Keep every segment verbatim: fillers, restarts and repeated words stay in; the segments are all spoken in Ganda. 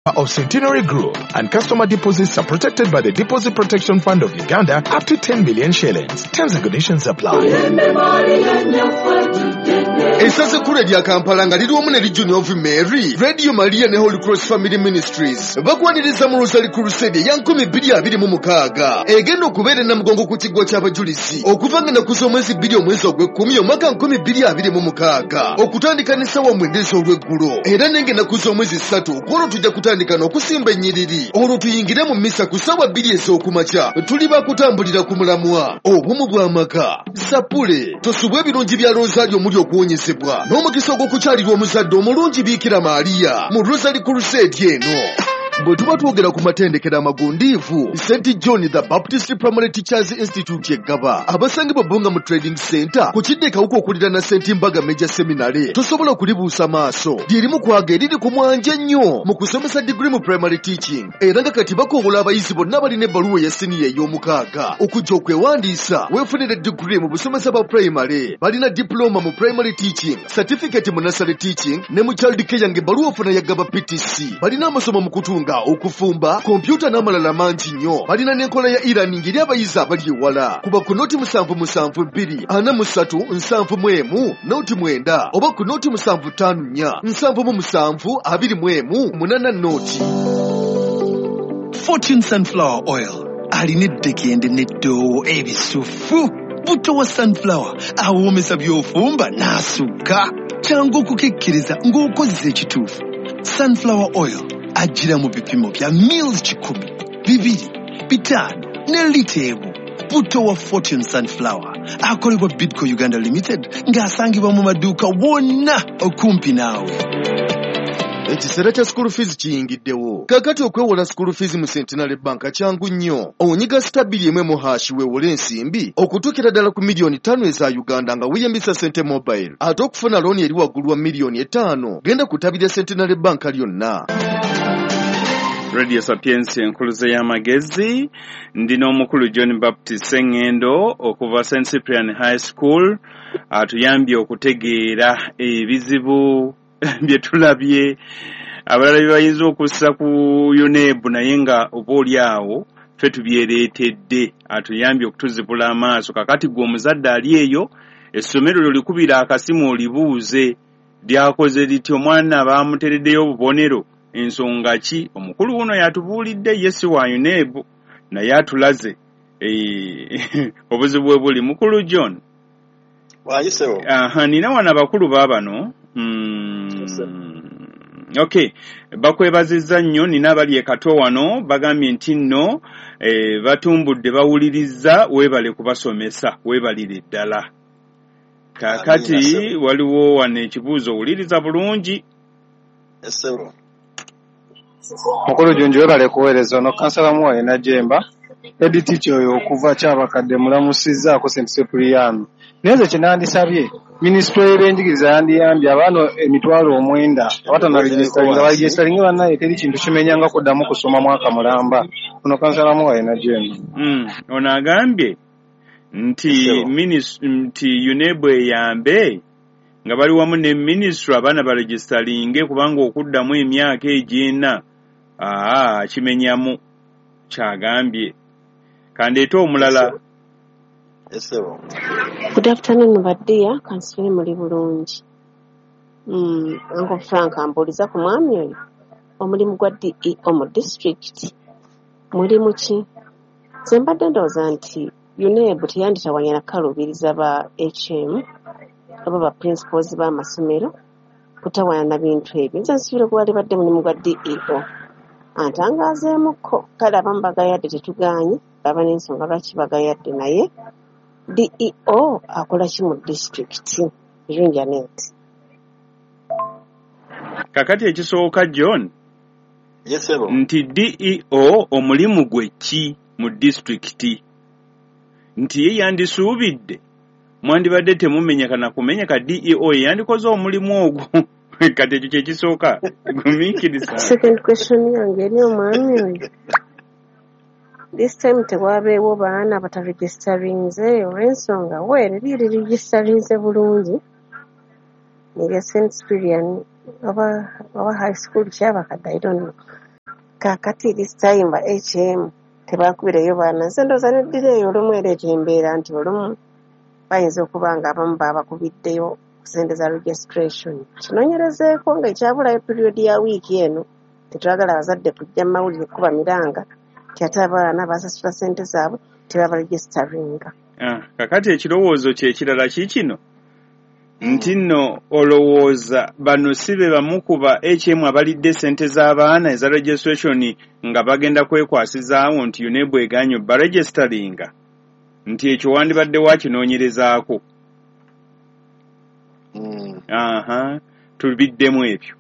Of Centenary Group, and customer deposits are protected by the Deposit Protection Fund of Uganda up to ten million shillings. Terms and conditions apply. Essaza ekkulu erya Kampala nga liri wamu ne Legion of Mary, Radio Maria ne Holy Cross Family Ministries bakwaniriza mu Rosary Crusade eya nkumi bbiri abiri mu mukaaga egenda okubeera e Namugongo ku kiggwa ky'abajulizi okuva nga ennaku z'omwezi bbiri omwezi ogw'ekkumi omwaka nkumi bbiri abiri mu mukaaga okutandika n'essaawa mwenda ez'olweggulo. Era nenga ennaku z'omwezi ssatu kwolwo tujja kutandika n'okusimba ennyiriri, olwo tuyingire mu misa ku ssaawa bbiri ez'okumakya. Tuli bakutambulira ku mulamwa obumu bw'amaka. Sapule tosubwa ebirungi bya Rosario omuli okuwonyezebwa n'omukisa ogw'okukyalirwa omuzadde omulungi Biikira Maaliya mu Rosary Crusade eno. Bwe tuba twogera ku matendekero amagundiivu, Saint John the Baptist Primary Teachers Institute eggaba abasangibwa Bbunga mu Trading Center ku kidde Kawuka okuliraana Saint Mbaga Major Seminary, tosobola kulibuusa maaso. Lyerimu kwaga eriri ku mwanje ennyo mu kusomesa digiri mu primary teaching, era nga kati bakoowola abayizi bonna abalina ebbaluwa eya siniya ey'omukaaga okujja okwewandiisa weefunire digiri mu busomesa bwa primary. Balina diploma mu primary teaching, certificate mu nursery teaching ne mu child care, ng'ebbaluwa ofuna yagaba P T C. Balina amasomo mu kutunga, okufumba, kompyuta n'amalala mangi nnyo. Balina n'enkola ya e-learning eri abayizi abali ewala. Kuba ku noti musanvu musanvu bbiri ana mu ssatu nsanvu mu emu noti mwenda oba ku noti musanvu ttaano nnya nsanvu mu musanvu abiri mu emu munaana noti. Fortune Sunflower Oil alina eddekende n'eddoowo ebisufu. Buto wa sunflower awoomesa by'ofumba n'asukka. Kyangu okukekkeriza ng'okozesa ekituufu. Sunflower Oil ajjira mu bipimo bya mils kikumi, bibiri, bitaano ne lita emu. Buto wa Fortune Sunflower akolebwa Bidco Uganda Limited ng'asangibwa mu maduuka wonna okumpi naawe. Ekiseera kya school fees kiyingiddewo kaakati. Okwewola school fees mu Centenary Bank kyangu nnyo. Onyiga star bbiri emu emu hash weewole ensimbi okutuukira ddala ku miliyoni ttaano eza Uganda nga weeyambisa Sente Mobile. Ate okufuna looni eri waggulu wa miliyoni etaano, genda ku ttabi lya Centenary Bank lyonna. Radio Sapiensia, enkuluze y'amagezi. Ndi n'omukulu John Baptist Sengendo okuva Saint Cyprian High School, atuyambye okutegeera ebizibu bye tulabye abalala bye bayinza okussa ku UNEB, naye nga oba oli awo ffe tubyereetedde. Atuyambye okutuzibula amaaso. Kakati gwe omuzadde ali eyo, essomero lyo likubira akasimu olibuuze lyakoze litya, omwana baamutereddeyo obubonero, ensonga ki? Omukulu wuno yatubuulidde, ye si wa UNEB, naye atulaze eh, obuzibu bwe buli. Mukulu John. Wayisewo. Aha, nina wano abakulu baabano. mm, okay bakwebazizza nnyo. Nina abali e Kato wano bagambye nti nno eh, batumbudde bawulirizza. Weebale kubasomesa, weebalire ddala. Kaakati Amiina, ssebo. waliwo wano ekibuuzo, wuliriza bulungi. Essebo. Mukulu Junju, webale kuweereza. Ono kansala Muwaye Najemba, head teacher oyo okuva Kyabakadde mulamusizzaako Saint Cyprian. Naye nze kye nandisabye, minisitule y'ebyenjigiriza yandiyambye abaana emitwalo omwenda abatanaregisitaringa baregisitaringe. Bannaye, teri kintu kimenyanga kuddamu kusoma mwaka mulamba. Ono kansala Muwaye Najemba. Mm, ono agambye nti Essebo. minis- nti UNEB eyambe nga bali wamu ne minisitule abaana baregisitaringe, kubanga okuddamu emyaka egy'ena aa kimenyamu, kyagambye. Kandeete omulala. Essebo. Good afternoon, ba dear, kansubire muli bulungi. Mm, Uncle Frank ambuuliza ku mwami oyo. Omulimu gwa D E O mu district mulimu ki? Nze mbadde ndowooza nti UNEB teyanditawanya na kukaluubiriza ba H M oba ba principals b'amasomero kutawaana na bintu ebyo. Nze nsuubira gwalibadde mulimu gwa D E O. Antangaazeemukko. Kale abamu bagayadde, tetugaanye, baba n'ensonga lwaki bagayadde, naye D E O akola ki mu disitulikiti? Birungi Anet. Kakati ekisooka, John, Yesebo. nti D E O omulimu gwe ki mu disitulikiti? Nti ye yandisuubidde mwandibadde temumenyeka na kumenyeka, D E O ye yandikoze omulimu ogwo. Kati ekyo kyekisooka, gumiikiriza. Second question yange eri omwami oyo. This time tewaabeewo baana bataregisitarinze olw'ensonga well eri regisitarinze bulungi erya Saint Cyprian oba oba high school Kyabakadde, I don't know. Kaakati this time ba H M tebakubireyo baana. Nze ndowooza neddira eyo olumu ereeta embeera nti olumu bayinza okuba nga abamu baabakubiddeyo ku ssente za registration. Kinoonyerezeeko ng'ekyabulayo period ya wiiki eno, tetwagala abazadde kujja mu mawulire kuba miranga nti ate abaana basasula ssente zaabwe tebabaregisteringa. Ah, kakati ekirowoozo kye kirala kiikino nti nno olowooza bano si be bamu ku ba H M abalidde ssente z'abaana eza registration nga bagenda kwekwasizaawo nti UNEB egaanye baregisteringa, nti ekyo wandibadde wakinoonyerezaako. Mm. Aha, tubiddemu ebyo.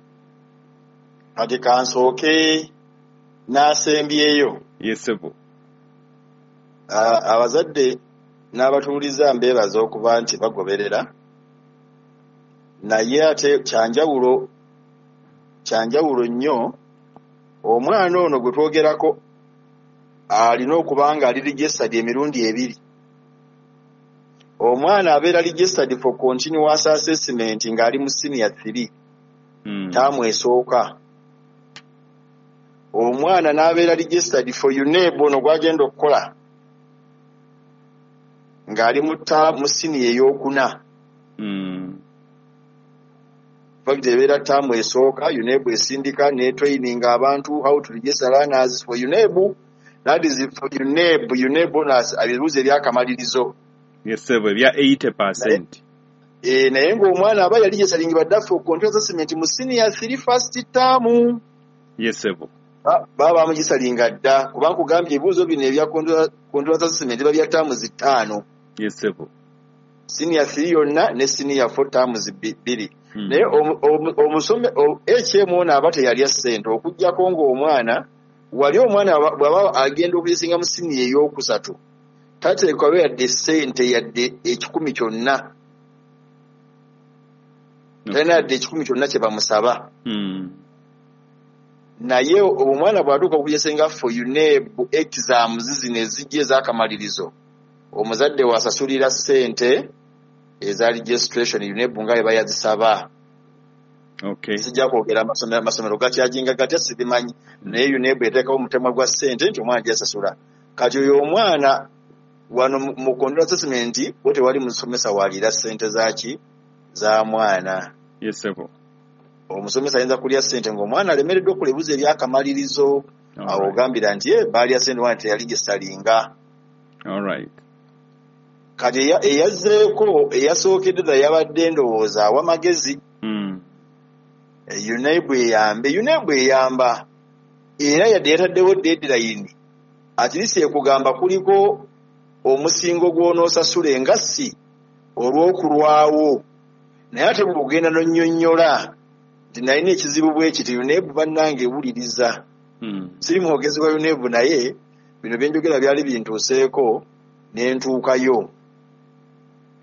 Kati kansooke n'asembyeyo. Yes, sebo. Abazadde n'abatuuliza mbeebaza okuba nti bagoberera, naye ate kyanjawulo kyanjawulo nnyo omwana ono gwe twogerako alina okuba nga ali registered emirundi ebiri. Omwana abeera registered for continuous assessment ng'ali mu senior three, mm. taamu esooka. Omwana n'abeera registered for UNEB ono gw'agenda okukola ng'ali mu mu senior ey'okuna. Mm. Fact ebeera taamu esooka UNEB esindika ne training abantu how to register learners for UNEB, that is for UNEB. UNEB ebibuuzo ebyakamalirizo. Yes, sir, ebya eighty percent. Eh, naye ng'omwana aba yali registering badda for continuous assessment mu senior three first term. Yes, sir. Baba bamugisalinga dda kuba nkugambye ebibuuzo bino ebya continuous assessment biba bya taamu zitaano. Yes, sir. Senior three yonna ne senior four terms bbiri. Naye omusome H M ono aba teyalya ssente okuggyako ng'omwana wali omwana bw'aba agenda okuyisinga mu senior ey'okusatu tateekwayo yadde ssente yadde ekikumi kyonna, talina yadde ekikumi kyonna kye bamusaba. Naye omwana bw'atuuka okuyisinga for UNEB exams zino ezijja ez'akamalirizo, omuzadde wasasulira ssente eza registration UNEB nga bwe bayazisaba. Okay. Sijja kwogera amasomero amasomero gakyajinga gatya sibimanyi, naye UNEB eteekawo omutemwa gwa ssente nti omwana gyasasula. Kati oyo omwana wano mu continuous assessment wo tewali musomesa waliira ssente zaaki za mwana. Yes, sir. Omusomesa ayinza kulya ssente ng'omwana alemereddwa okukola ebibuuzo ebyakamalirizo, awo ogambira nti ye baalya ssente omwana teyali gisalinga. All right. Kati eyazzeeko eyasookedde ddala yabadde ndowooza awa magezi. Mm. UNEB eyambe, UNEB eyamba era yadde yataddewo deadline, at least ekugamba kuliko omusingo gw'onoosasula engassi olw'okulwawo, naye ate bw'ogenda n'onnyonnyola nti nalina ekizibu bwe kiti, UNEB bannange ewuliriza. Mm. Siri mwogezi wa UNEB naye bino bye njogera byali bintuuseeko ne ntuukayo.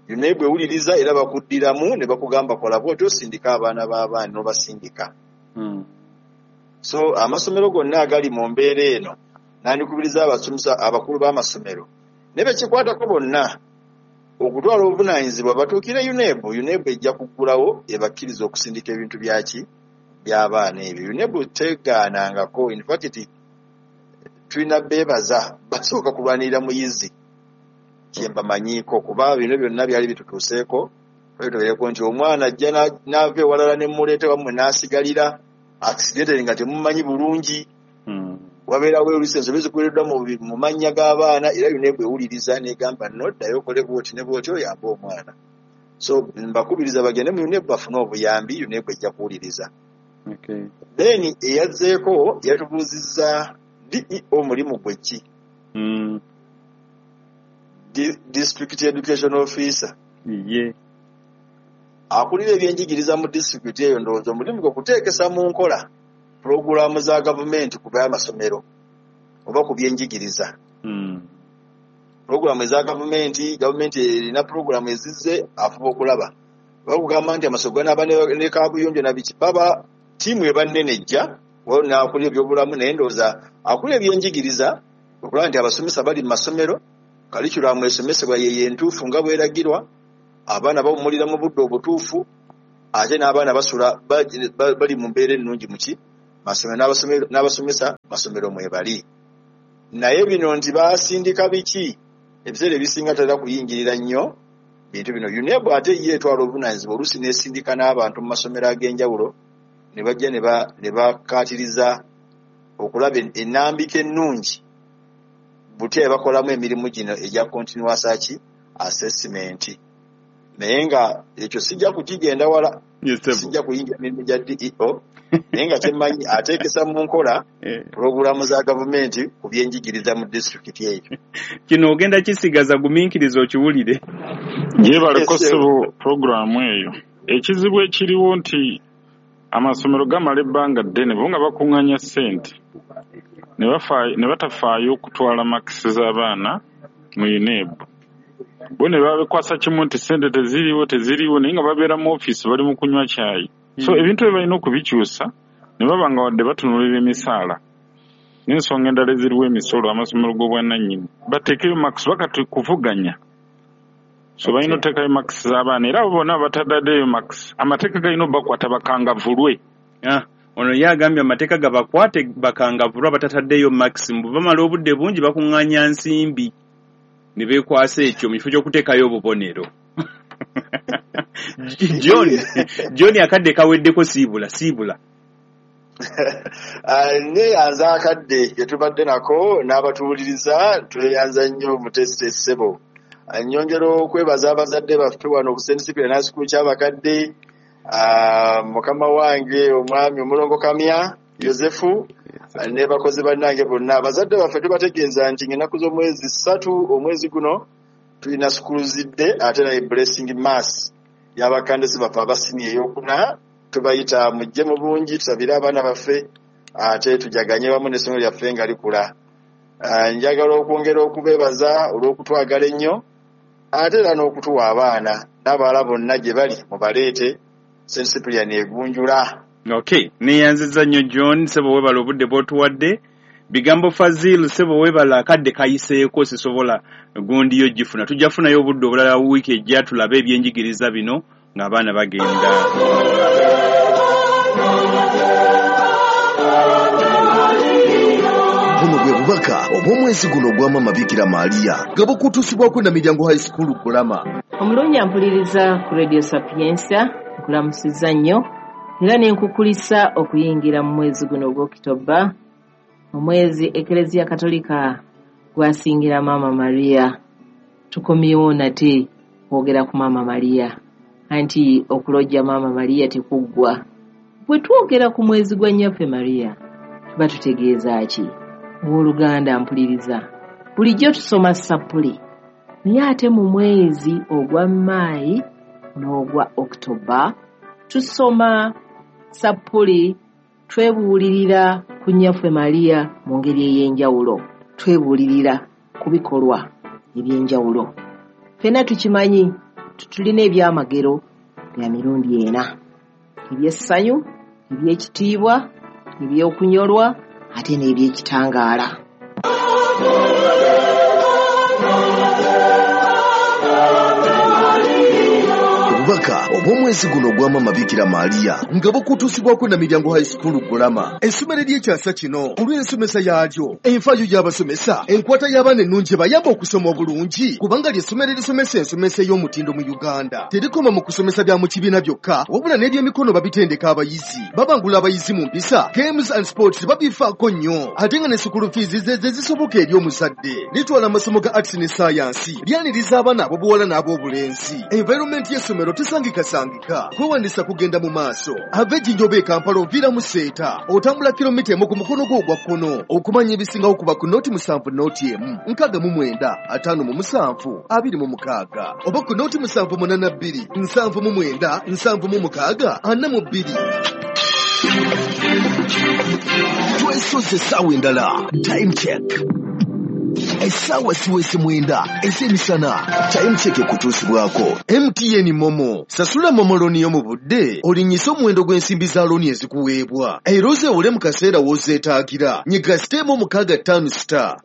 UNEB ewuliriza era bakuddiramu ne bakugamba kola bw'otyo osindika abaana b'abaana n'obasindika. Mm. So amasomero gonna agali mu mbeera eno nandikubiriza abasomesa abakulu b'amasomero ne bekikwatako bonna okutwala obuvunaanyizibwa batuukire UNEB. UNEB ejja kuggulawo ebakkiriza okusindika ebintu byaki by'abaana ebyo. UNEB tegaanangako, in fact tulina beebaza basooka kulwanirira muyizi kye mbamanyiiko, kuba bino byonna byali bitutuuseeko. Twalitubeereko nti omwana ajja n'ava ewalala ne mmuleeta wammwe n'asigalira accidentally nga temumanyi bulungi. Mm. Wabeerawo oluusi ensobi zikoleddwa mu mannya g'abaana, era UNEB ewuliriza n'egamba nno ddayo okole bw'oti ne bw'oti oyambe omwana. So mbakubiriza bagende mu UNEB bafune obuyambi, UNEB ejja kuwuliriza. Okay. Then eyazzeeko yatubuuzizza D E O mulimu gwe ki? Mm. District Education Officer. Ye. Akulira ebyenjigiriza mu disitulikiti eyo ndowooza omulimu gwe kuteekesa mu nkola pulogulaamu za gavumenti ku by'amasomero oba ku byenjigiriza. Mm. Pulogulaamu eza gavumenti, gavumenti erina pulogulaamu ezizze afuba okulaba. Bakugamba nti amasomero ganaaba ne kaabuyonjo na biki, baba ttiimu eba nnene ejja, waliwo n'akulira ebyobulamu, naye ndowooza akulira ebyenjigiriza okulaba nti abasomesa bali mu masomero, kalikulamu esomesebwa ye entuufu nga bweragirwa, abaana bawummulira mu budde obutuufu, ate n'abaana basula bali mu mbeera ennungi muki Masomero n'abasomesa masomero mwebali. Naye bino nti basindika biki, ebiseera ebisinga tatera kuyingirira nnyo bintu bino. UNEB ate ye etwala obuvunaanyizibwa, oluusi n'esindika n'abantu mu masomero ag'enjawulo ne bajja ne bakkaatiriza okulaba ennambika ennungi butya ebakolamu emirimu gino egya continuous assessment. Naye nga ekyo sijja kukigenda wala, sijja kuyingira mirimu gya D E O, naye nga kyemmanyi ateekesa mu nkola pulogulaamu za gavumenti ku byenjigiriza mu disitulikiti eyo. Kino ogenda kisigaza gumiikiriza okiwulire. Yeebaleko ssebo pulogulaamu eyo. Ekizibu ekiriwo nti amasomero gamala ebbanga ddene bo nga bakuŋŋaanya ssente ne batafaayo okutwala makisi z'abaana mu UNEB. Bo ne babikwasa kimu nti ssente teziriiwo teziriiwo, naye nga babeera mu ofiisi bali mu kunywa caayi. So ebintu ebyo balina okubikyusa ne baba nga wadde batunuulira emisaala n'ensonga endala eziriwo, emisolo, amasomero g'obwannannyini, bateekeyo makisi bakati kuvuganya. So balina oteekayo makisi z'abaana, era abo bonna bataddeyo makisi amateeka galina obbakwata bakangavulwe. Ono ye agambye amateeka gabakwate bakangavulwe abatataddeyo makisi, mbu bamala obudde bungi bakuŋŋaanya nsimbi ne beekwasa ekyo mu kifo ky'okuteekayo obubonero. John, John akadde kaweddeko, siibula siibula. Neeyanza akadde ke tubadde nako n'abatuwuliriza, tweyanza nnyo Mutesite ssebo. Nnyongera okwebaza abazadde baffe wano ku Saint Cyprian High School Kyabakadde, mukama wange omwami Omulongo Kamya Yosefu ne bakozi bannange bonna. Abazadde baffe tubategeeza nti ng'ennaku z'omwezi ssatu omwezi guno tulina school's day ate naye blessing mass y'abakandisi baffe abasini ey'okuna. Tubayita mujje mu bungi tusabire abaana baffe ate tujaganye wamu n'essomero lyaffe nga likula. Njagala okwongera okubeebaza olw'okutwagala ennyo ate era n'okutuwa abaana n'abalala bonna gye bali mubaleete Saint Cyprian egunjula. Okay, neeyanzizza nnyo John ssebo, weebala obudde bw'otuwadde. Bigambo Fazil ssebo weebala, akadde kayiseeko sisobola gundi yo gifuna. Tujja kufunayo obudde obulala wiiki ejja tulabe ebyenjigiriza bino ng'abaana bagenda. Buno bwe bubaka obw'omwezi guno ogwa Maama Bikira Maria nga bukutuusibwako na Miryango High School Kulama. Omulungi ampuliriza ku Radio Sapientia, nkulamusizza nnyo era ne nkukulisa okuyingira mu mwezi guno ogw'Okitoba, omwezi Eklezia Katolika gwasingira Maama Maria. Tukomyewo nate kwogera ku Maama Maria, anti okulojja Maama Maria tekuggwa. Bwe twogera ku mwezi gwa Nnyaffe Maria tuba tutegeeza ki? Owooluganda mpuliriza, bulijjo tusoma sappuli, naye ate mu mwezi ogwa Maayi n'ogwa Okitoba tusoma sappuli, twebuulirira ku Nnyaffe Maria mu ngeri ey'enjawulo, twebuulirira ku bikolwa eby'enjawulo. Ffenna tukimanyi tulina ebyamagero bya mirundi ena: eby'essanyu, eby'ekitiibwa, eby'okunyolwa ate n'ebyekitangaala. Obubaka obw'omwezi guno ogwa Maama Bikira Maria nga bukutuusibwako na Miryango High School Kulama, essomero ery'ekyasa kino olw'ensomesa yaalyo, enfaayo y'abasomesa, enkwata y'abaana ennungi ebayamba okusoma obulungi, kubanga ly'essomero erisomesa ensomesa ey'omutindo mu Uganda. Terikoma mu kusomesa bya mu kibiina byokka, wabula n'ebyemikono babitendeka abayizi, babangula abayizi mu mpisa, games and sports babifaako nnyo, ate nga ne school fees ze ze zisoboka eri omuzadde. Litwala amasomo ga arts ne science, lyaniriza abaana ab'obuwala n'ab'obulenzi. Environment y'essomero tesangikasangika, kwewandisa kugenda mu maaso. Ava Ejjinja e Kampala oviira mu Seeta, otambula kilomita emu ku mukono gwo ogwa kkono. Okumanya ebisingawo kuba ku nooti musanvu nooti emu nkaaga mu mwenda ataano mu musanvu abiri mu mukaaga, oba ku nooti musanvu munaana bbiri nsanvu mu mwenda nsanvu mu mukaaga ana mu bbiri. Twesoze essaawa endala. Time check. Essaawa siwese mwenda ez'emisana. Time check ekutuusibwako M T N Momo. Sasula Momo looni yo mu budde, olinnyise omuwendo gw'ensimbi za looni ezikuweebwa, era ozeewole mu kaseera w'ozeetaagira. Nyiga siteemu mukaaga ttaano star.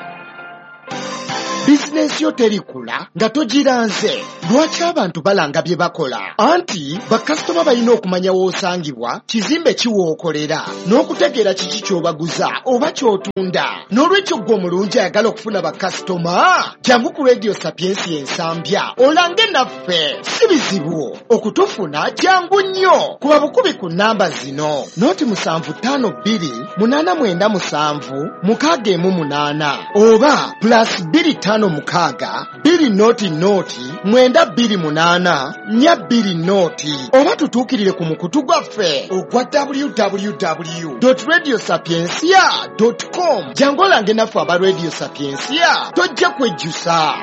Bizinesi Bizinensi yo terikula nga togiranze. Lwaki abantu balanga bye bakola? Anti bakasitoma balina okumanya w'osangibwa, kizimbe ki w'okolera, n'okutegeera kiki ky'obaguza oba ky'otunda. N'olwekyo ggwe omulungi ayagala okufuna bakasitoma, jangu ku Radio Sapiensia Ensambya olange naffe. Si bizibu okutufuna, jangu nnyo. Kuba bukubi ku nnamba zino: noti musanvu ttaano bbiri munaana mwenda musanvu mukaaga emu munaana oba plus bbiri ttaano mukaaga bbiri noti noti mwenda bbiri munaana nnya bbiri noti, oba tutuukirire ku mukutu gwaffe ogwa w w w radio sapiensia com. Jangu olange naffe aba Radio Sapiensia, tojja kwejjusa.